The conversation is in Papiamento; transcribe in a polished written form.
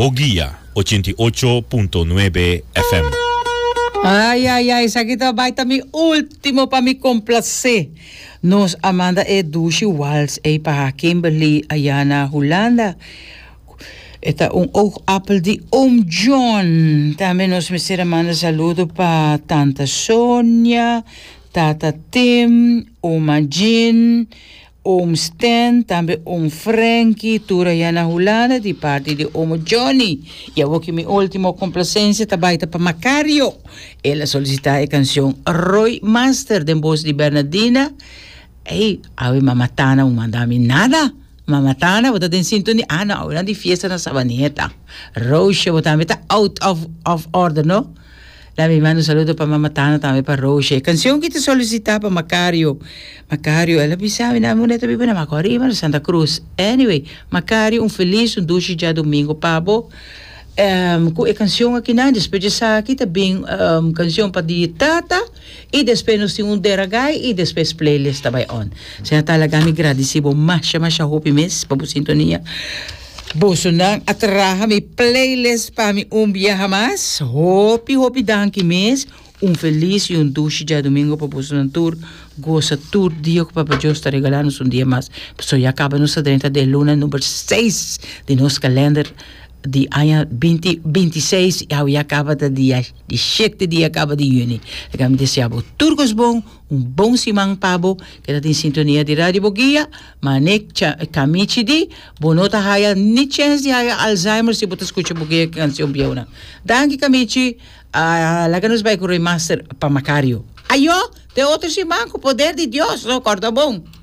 Boguia 88.9 FM. Ay ay ay esaki ta bai ta mi ultimo pa mi complacé. Nos a manda e dushi wals ey pa Kimberly aya na Hulanda. E ta un oogappel di oom John. Tambe nos mester a manda saludo pa tanta Sonia, tata Tim, oma Jean, Oom Stan, tambe oom Frankie, tur aya na Hulanda di parti di omo Johnny. Y awor ki mi ultimo complacencia ta bay ta pa Macario. El a solicita e cancion Roy Master den voz di Bernadina. Ey, awe mama Tana un manda mi nada. Mama Tana, bo ta den sintonia. Ah no, awe nan di fiesta na Sabaneta. Roosje, bo tambe ta out of, of order, no? La mi manda un saludo pa mama Tana tambe pa Roosje. E cancion ki ta solicita pa Macario. Macario, el a bisa mi na mi ta biba na Macorima, na Santa Cruz. Anyway, Macario, un feliz, un dushi djadomingo pa bo. Um, ku e cancion akinan, despues di esaki ta bin um, cancion pa di tata y despues nos tin un deragai y despues playlist ta bai on. Señor ta laga mi gradici bo masha masha hopi mes pa bo sintonia. Bosonan a traha mi playlist pa mi un biaha mas. Hopi hopi danki mes. Un felis y un dushi djadomingo pa bosonan tur. Gosa tur dia ku Papa Dios ta regala nos un dia mas. Pasobra ya kaba nos ta drenta den luna number seis di nos kalender di aña binti binti seis y awe ya kaba ta dia di shete dia kaba di yüni. Laga mi desea bo tur kos bon, un bon siman pa bo. Keda den sintonia di Radio Boguia. Mane cha Kamichi di, bo no ta haya ni chens di haya Alzheimer si bo ta skucha bo ke kansion bieunan. Danki Kamichi, a laga nos bai ku Roy Master pa Macario. Ayo, te otro siman ku poder di Dios, no, kòrda bon.